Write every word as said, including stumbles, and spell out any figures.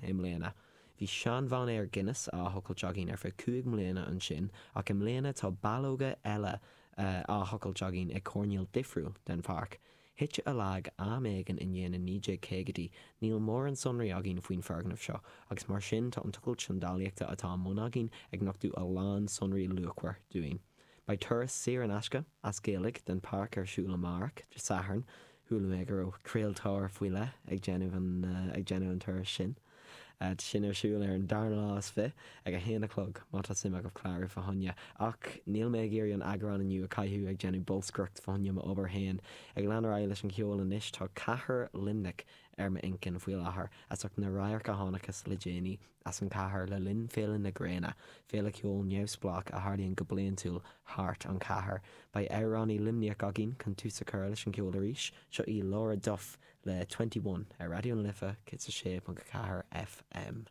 i mbliana. Bhí seanmhainéar Guinness á thochailt againn ar feadh cúig mbliana ansin, ach i mbliana tá ballóga eile á thochailt againn i gcoirnéal difriúil den pháirc. Thite i lag am éigin i ndiaidh na naoi déag caogaidí, níl mórán sonraí againn faoin foirgneamh seo, agus mar sin tá an tochailt seandálaíochta atá i mbun againn ag nochtadh a lán sonraí luachmhar dúinn. Beidh turas saor in aisce, as Gaeilge, den pháirc ar siúl amárach, Dé Sathairn. Chuala mé go raibh craoltóir faoi leith ag déanamh an ag déanamh an turas sin. Tá sin ar siúl ar an dara lá is fiche ag a haon a chlog má tá suim agaibh clárú fá choinne. Ach níl mé ag iarraidh an eagrán inniu a chaitheamh ag déanamh bolscaireacht fá choinne m'obair féin. Ag lean ar aghaidh leis an cheol anois tá cathair Luimnigh ar m'intinn faoi láthair, as ucht na radhairc a chonacthas le déanaí as an chathair le linn Féile na Gréine, féile ceoil neamhspleách a tharlaíonn go bliantúil thart an chathair. Beidh amhránaí Luimníoch againn chun tús a chur leis an gceol arís, seo í Laura Duff le Twenty One ar Raidió na Life céad a sé ponc a ceathair FM.